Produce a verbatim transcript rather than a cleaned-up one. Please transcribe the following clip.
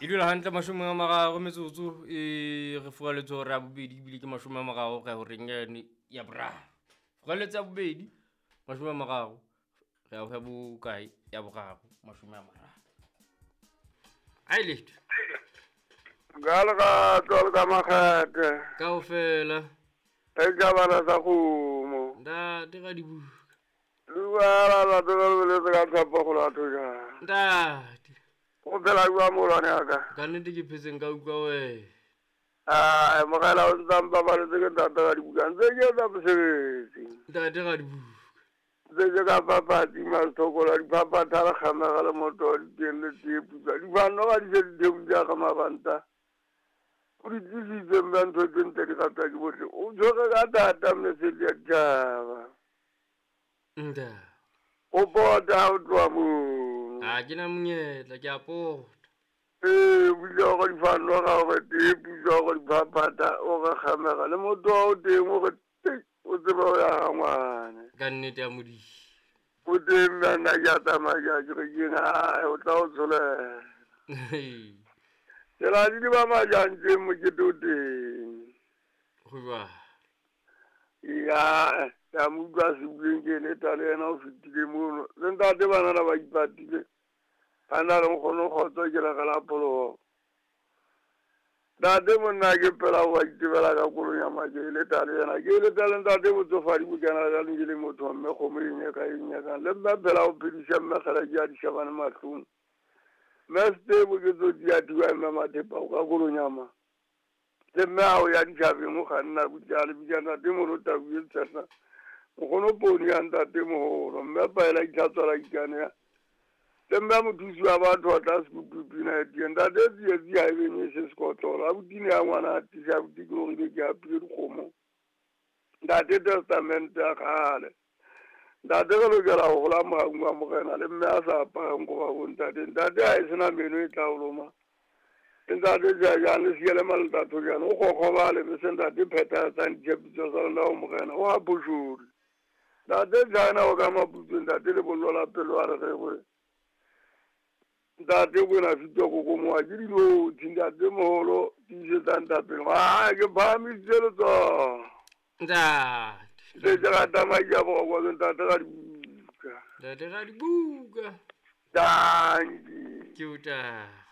E dula hantle mashome a mararo metsotso e re furaletse hora ya bobedi ebile ke mashome a mararo go ya horeng yane ya boraro. Furaletse ya bobedi mashome a mararo re ya ho ya bokae ya boraro mashome a mararo. Ai letho. Ka lerato le ka makgethe. Kaofela. E ka bana sa kgomo. Ntate ka dibuka. Dumela ntate le boletse ka tshepo go latho jang. Ntate. O phela jwang molwane wa ka? Ka nnete ke phetseng ka utlwa wena. Ah, mogela o ntse a mpabaletse ke ntate ka dibuka. Ntse ke etsa mosebetsi. Ntate ka dibuka. Ntse ke ka papatsi mashokola diphaphatha le kgamega le moto wa diteng le tee putswa. Difano ga di se di thebutse ka mabanta. O di tlisitse mme ntho tse ntle di ratwa ke bohle. O tshwere ka thata mesedi ya ditjhaba. Ntate. O pota o tloha moo. Ha ke na monyetla ke a pota. Ee, o bile hore difano ga hore tee putswa hore diphaphatha o re kgamega le motho wa o teng o re tei o tsebe ho ya ha ngwane. Ka nnete ya Modimo. O teng mme nna ke a tsamaya ke a kerekeng, ae o tla o tsholela. Tsela di ba majang teng mokete o teng. Ho jwang? Ya, ya mo utlwa sebukeng ke leta le yena o fetile mono. Le ntate banana ba ipatile. Ba na le nkgono kgotso ke le la pholoho. Ntate monna ke pela wa itebela ka koloi ya maje e leta le yena. Ke leta le ntate botsofadi bo kena ka le le motho mme kgomo e nyaka e nyakang. Le mme phela o phedisa mme kgala ke a di shebane mahlong. Mme Setebo ke tsotsi ya thuwa mme Mathepa o ka koloi ya ma. Le mme ha o ya ditjhabeng o kganna butjale bitsa ntate moholo tau e tshehla. Nkgono poone ya ntate moholo mme paela itlhatswa la ikane ya. Le mme mothusi wa batho wa tla sekutu pina e teng. Ntate tsietsi ha e benye se sekotlolo. Abuti ne ya ngwana a tisa abuti ke hore ke apile dikgomo. Ntate testamente ya kgale. Ntate re lokela ho hola mohaung wa morena le mme a sa aparang koba bo ntate. Ntate ha e sena meno e tla o loma. Ntate jajang le siele malentatho jana o kgokgobale bese ntate phethahatsang ditshepiso tsa lona ho morena o a phoshole. Ntate jana o ka maputswe ntate lebollo la pelo a re re ntate bona fitwa kokomoa ke dilotshi ntate moholo tiisetsa ntapelo. Ah, ke phahamisitse letsoho. Ntate. Ntse ke rata madi a boroko ke ntate ka dibuka. Ntate ka dibuka. Dankie. Ke o tata.